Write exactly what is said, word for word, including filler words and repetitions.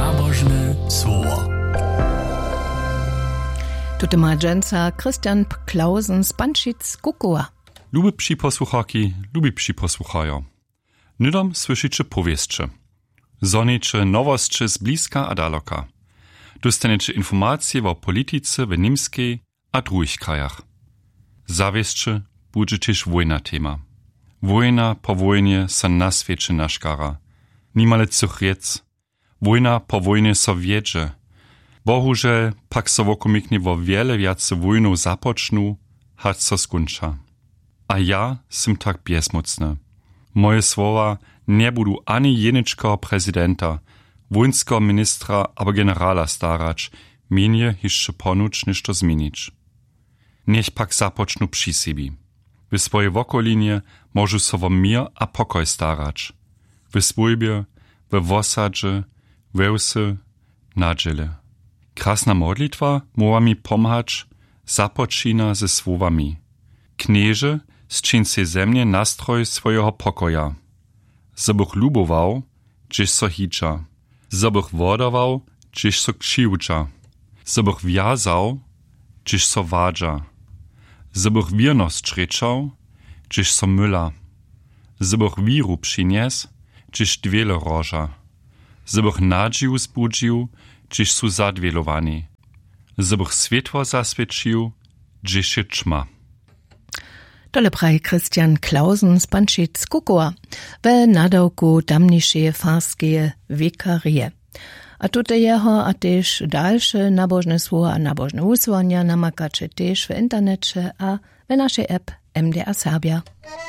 Nabožne słowo. Tute ma dźensa Christian P- Clausen z Pančic Kukowa. Lube připosłucharki, lubi připosłucharjo. Hnydom słyšiće powěsće. Zhoniće nowosće z bliska a daloka. Dóstaneće informacije wo politice w Němskej a druhich krajach. Zawěsće budźe tež wójna tema. Wójna po wójnje so na swěće naškara. Nimale třěch rěc. Wójna po wójnje so wjedźe. Bohužel pak so wokomiknje wo wjele wjace wójnow započnu, hač so skónča. A ja sym tak bjezmócny. Moje słowa njebudu ani jeničkeho prezidenta, wójnskeho ministra abo generala starać, mjenje hišće ponuć něšto změnić. Njech pak započnu při sebi. W swojej wokolinje móžu so wo měr a pokoj starać. W swójbje, we wosadźe, we wsy, na dźěle. Krasna modlitwa móhła mi pomhać, započina ze słowami: Knježe, sćiń sej ze mnje nastroj swojeho pokoja. Zo bych lubował, hdźež so hitša. Zo bych wodawał, hdźež so křiwdźa. Zo bych wjazał, hdźež so wadźa. Zo bych wěrnosć rěčał, hdźež so myla. Zo bych wěru přinjesł, hdźež dwěle roža. Zo bych nadźiju zbudźił, hdźež su zadwělowani. Zo bych swětło zaswěćił, hdźež je ćma. Tole praji Christian Clausen z Pančic Kukowa we nadawku tamnišeje farskeje wikarije. A tute jeho a tež dalše nabožne słowa a nabožne wusłanja namakaće tež w interneće a we našej app M D R Serbia.